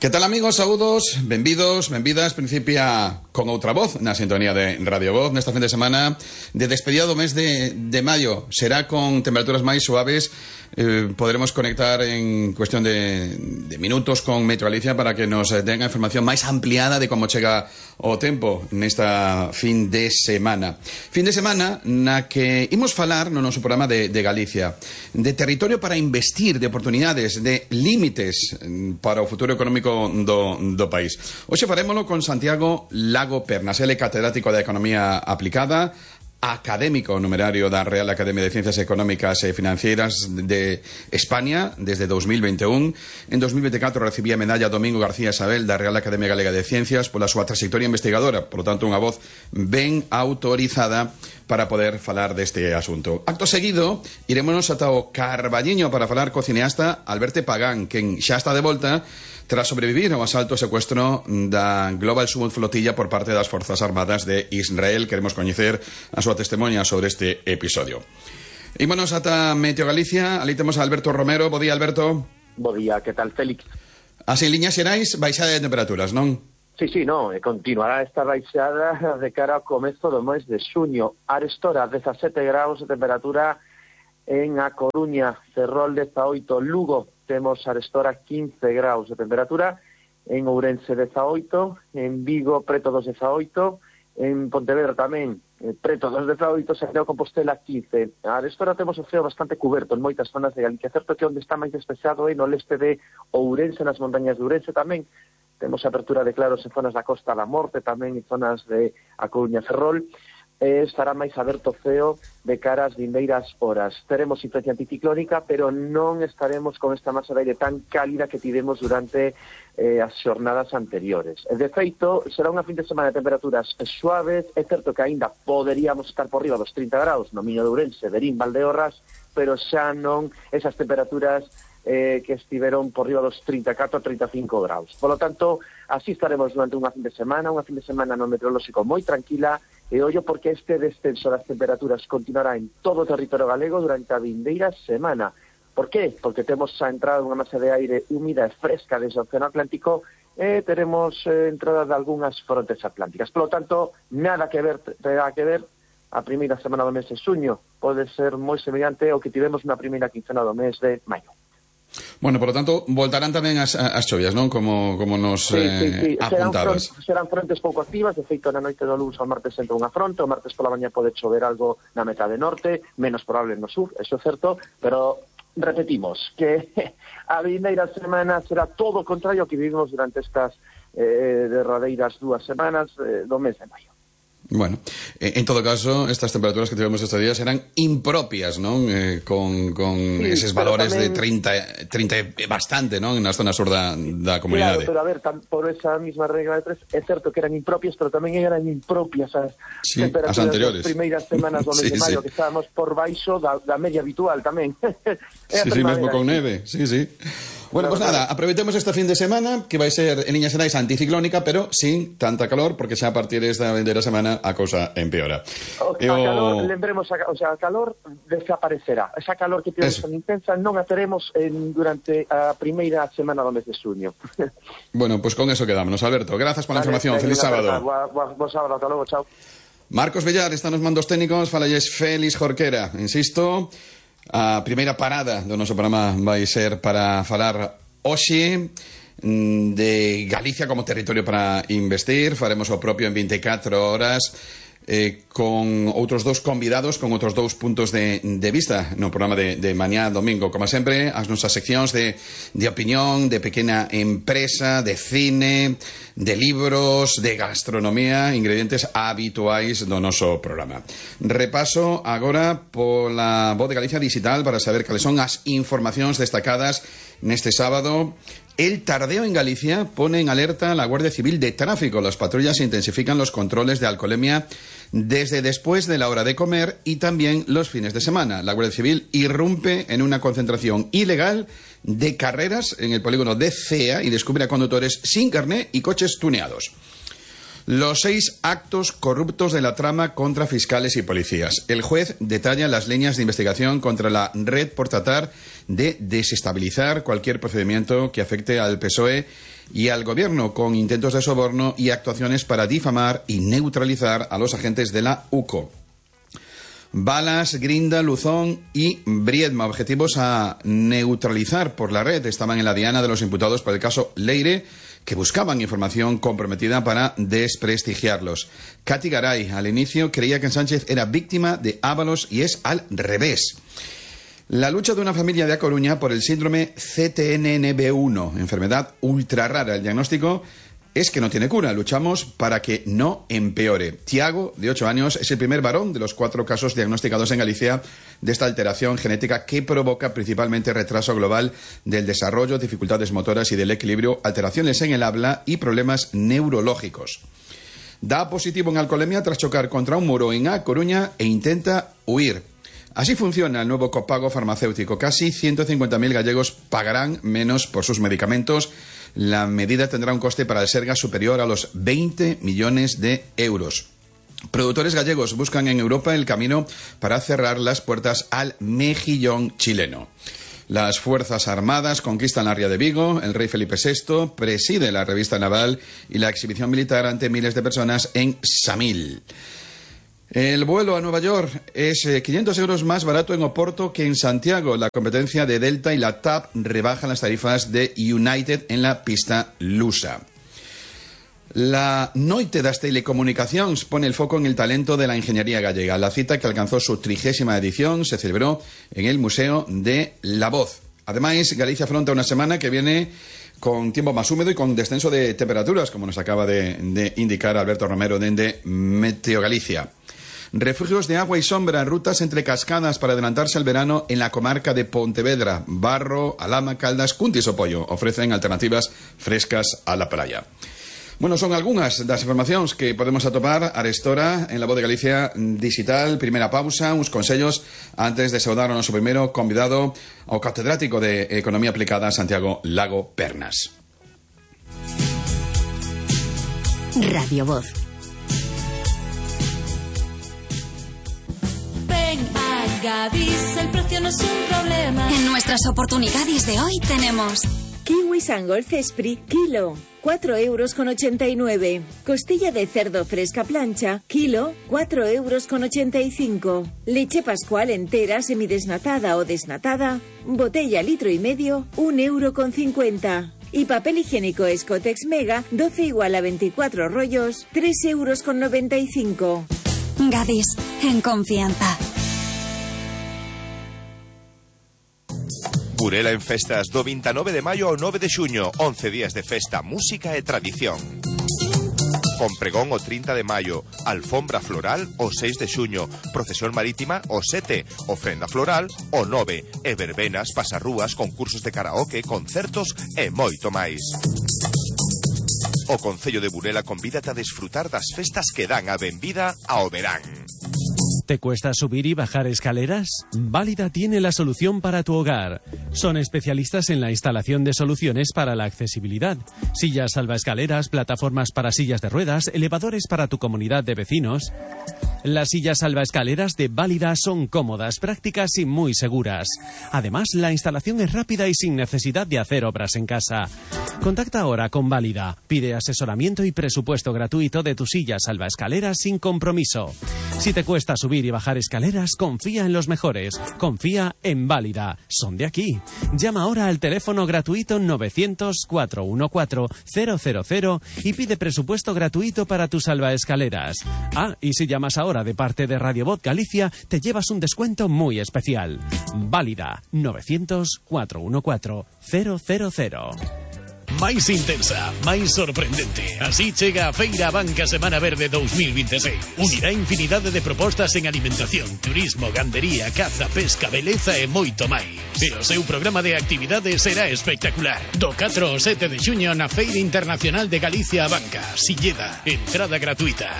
Que tal, amigos? Saúdos, benvidas, principia con outra voz na sintonía de Radio Voz nesta fin de semana de despedida do mes de maio. Será con temperaturas máis suaves. Poderemos conectar en cuestión de minutos con Meteo Galicia para que nos tenga información máis ampliada de como chega o tempo nesta fin de semana. Fin de semana na que imos falar no noso programa de Galicia, de territorio para investir, de oportunidades, de límites para o futuro económico do país. Hoxe farémolo con Santiago Lago Pernas. Ele é catedrático de Economía Aplicada, académico numerario da Real Academia de Ciencias Económicas e Financieras de España desde 2021. En 2024 recibía a medalla Domingo García Isabel da Real Academia Galega de Ciencias pola súa trayectoria investigadora, por lo tanto unha voz ben autorizada para poder falar deste asunto. Acto seguido, irémonos ata o Carballiño para falar co cineasta Alberto Pagán, quen xa está de volta tras sobrevivir ao asalto e secuestro da Global Summit Flotilla por parte das Forzas Armadas de Israel. Queremos coñecer a súa testemunha sobre este episodio. Ímonos ata Meteo Galicia. Ali temos a Alberto Romero. Bo día, Alberto. Bo día, que tal, Félix? Así, en liñas xerais, baixada de temperaturas, non? Sí, non, continuará esta baixada de cara ao comezo do mes de xuño. Arestora, 17 graus de temperatura en A Coruña, Ferrol 18, Lugo, temos arestora 15 graus de temperatura, en Ourense 18, en Vigo preto dos 18, en Pontevedra tamén preto dos 18, Santiago Compostela 15. Arestora temos o ceo bastante cuberto en moitas zonas de Galicia, certo que onde está máis despexado é no leste de Ourense, nas montañas de Ourense tamén. Temos apertura de claros en zonas da Costa da Morte, tamén en zonas de A Coruña, Ferrol. Estará máis aberto o ceo de cara ás vindeiras horas. Teremos influencia anticiclónica, pero non estaremos con esta masa de aire tan cálida que tivemos durante as xornadas anteriores. De feito, será unha fin de semana de temperaturas suaves. É certo que aínda poderíamos estar por riba dos 30 graus no Miño de Ourense, Verín, Valdeorras, pero xa non esas temperaturas que estiveron por riba dos 34 a 35 graus. Por lo tanto, así estaremos durante unha fin de semana no meteorolóxico moi tranquila, e ollo porque este descenso das temperaturas continuará en todo o territorio galego durante a vindeira semana. Por qué? Porque temos a entrada dunha masa de aire húmida e fresca desde o Océano Atlántico e teremos entrada de algunhas frontes atlánticas. Por lo tanto, nada que ver a primeira semana do mes de xuño. Pode ser moi semellante ao que tivemos na primeira quincena do mes de maio. Bueno, por lo tanto, voltarán tamén as chovias, non? Como nos apuntabas. Serán frontes pouco activas. De feito, na noite do luns ao martes entra unha fronte. O martes pola mañá pode chover algo na metade norte, menos probable no sur, eso é certo, pero repetimos que a vindeira semana será todo o contrario que vivimos durante estas derradeiras 2 semanas do mes de maio. Bueno, en todo caso, estas temperaturas que tivemos estes días eran impropias, non? Con sí, eses valores tamén, de 30 bastante, non? Na zona sur da comunidade. Claro, pero a ver, por esa misma regla de 3, é certo que eran impropias, pero tamén eran impropias as temperaturas das primeiras semanas do mes de maio, que estábamos por baixo da media habitual tamén. Sí, mesmo con neve, sí. Bueno, pues nada, aproveitemos esta fin de semana, que vai ser en liñas xerais anticiclónica, pero sin tanta calor, porque xa a partir desta vindeira semana a cousa empeora. Calor, lembremos, a calor desaparecerá. Esa calor que temos tan intensa non a teremos durante a primeira semana do mes de xuño. Bueno, pues con eso quedámonos. Alberto, grazas pola información. Feliz sábado. Bo sábado, ata logo, chao. Marcos Bellar está nos mandos técnicos, falalles Félix Jorquera. Insisto, a primeira parada do noso programa vai ser para falar hoxe de Galicia como territorio para investir. Faremos o propio en 24 horas con outros dous convidados, con outros dous puntos de vista no programa de mañá domingo. Como sempre, as nosas seccións de opinión, de pequena empresa, de cine, de libros, de gastronomía, ingredientes habituais do noso programa. Repaso agora pola Voz de Galicia Digital para saber cales son as informacións destacadas neste sábado. El tardeo en Galicia pone en alerta a la Guardia Civil de Tráfico. Las patrullas intensifican los controles de alcoholemia desde después de la hora de comer y también los fines de semana. La Guardia Civil irrumpe en una concentración ilegal de carreras en el polígono de Cea y descubre a conductores sin carné y coches tuneados. Los 6 actos corruptos de la trama contra fiscales y policías. El juez detalla las líneas de investigación contra la red por tratar de desestabilizar cualquier procedimiento que afecte al PSOE y al gobierno con intentos de soborno y actuaciones para difamar y neutralizar a los agentes de la UCO. Balas, Grinda, Luzón y Briedma, objetivos a neutralizar por la red, estaban en la diana de los imputados por el caso Leire, que buscaban información comprometida para desprestigiarlos. Katy Garay, al inicio, creía que Sánchez era víctima de Ábalos y es al revés. La lucha de una familia de A Coruña por el síndrome CTNNB1, enfermedad ultra rara. El diagnóstico es que no tiene cura. Luchamos para que no empeore. Tiago, de 8 años, es el primer varón de los 4 casos diagnosticados en Galicia de esta alteración genética que provoca principalmente retraso global del desarrollo, dificultades motoras y del equilibrio, alteraciones en el habla y problemas neurológicos. Da positivo en alcoholemia tras chocar contra un muro en A Coruña e intenta huir. Así funciona el nuevo copago farmacéutico. Casi 150.000 gallegos pagarán menos por sus medicamentos. La medida tendrá un coste para el Sergas superior a los 20 millones de euros. Productores gallegos buscan en Europa el camino para cerrar las puertas al mejillón chileno. Las Fuerzas Armadas conquistan la ría de Vigo. El rey Felipe VI preside la revista naval y la exhibición militar ante miles de personas en Samil. El vuelo a Nueva York es 500 euros más barato en Oporto que en Santiago. La competencia de Delta y la TAP rebajan las tarifas de United en la pista lusa. La Noite das Telecomunicacións pone el foco en el talento de la ingeniería gallega. La cita, que alcanzó su 30ª edición, se celebró en el Museo de la Voz. Además, Galicia afronta una semana que viene con tiempo más húmedo y con descenso de temperaturas, como nos acaba de indicar Alberto Romero de Meteo Galicia. Refugios de agua y sombra, rutas entre cascadas para adelantarse al verano en la comarca de Pontevedra. Barro, Alhama, Caldas, Cuntis o Pollo ofrecen alternativas frescas a la playa. Bueno, son algunhas das informacións que podemos atopar arestora en La Voz de Galicia Digital. Primeira pausa, uns consellos antes de saudar ao noso primeiro convidado, ao catedrático de Economía Aplicada, Santiago Lago Pernas. Radio Voz. Gadis, el precio no es un problema. En nuestras oportunidades de hoy tenemos kiwi Sangol Cespri, kilo, 4,89 €. Costilla de cerdo fresca plancha, kilo, 4,85 €. Leche Pascual entera, semidesnatada o desnatada, botella 1,5 litros, 1,50 €. Y papel higiénico Escotex Mega, 12 igual a 24 rollos, 3,95 €. Gadis, en confianza. Burela en festas do 29 de maio ao 9 de xuño, 11 días de festa, música e tradición. Con pregón o 30 de maio, alfombra floral o 6 de xuño, procesión marítima o 7, ofrenda floral o 9, e verbenas, pasarrúas, concursos de karaoke, concertos e moito máis. O Concello de Burela convídate a desfrutar das festas que dan a benvida ao verán. ¿Te cuesta subir y bajar escaleras? Válida tiene la solución para tu hogar. Son especialistas en la instalación de soluciones para la accesibilidad. Sillas salvaescaleras, plataformas para sillas de ruedas, elevadores para tu comunidad de vecinos. Las sillas salvaescaleras de Válida son cómodas, prácticas y muy seguras. Además, la instalación es rápida y sin necesidad de hacer obras en casa. Contacta ahora con Válida. Pide asesoramiento y presupuesto gratuito de tu silla salvaescaleras sin compromiso. Si te cuesta subir y bajar escaleras, confía en los mejores. Confía en Válida. Son de aquí. Llama ahora al teléfono gratuito 900-414-000 y pide presupuesto gratuito para tus salvaescaleras. Ah, y si llamas ahora de parte de Radio Voz Galicia, te llevas un descuento muy especial. Válida, 900-414-000. máis intensa, máis sorprendente. Así chega a Feira Banca Semana Verde 2026. Unirá infinidade de propostas en alimentación, turismo, gandería, caza, pesca, beleza e moito máis. E o seu programa de actividades será espectacular. Do 4 ao 7 de xuño na Feira Internacional de Galicia a Banca, Silleda, entrada gratuita.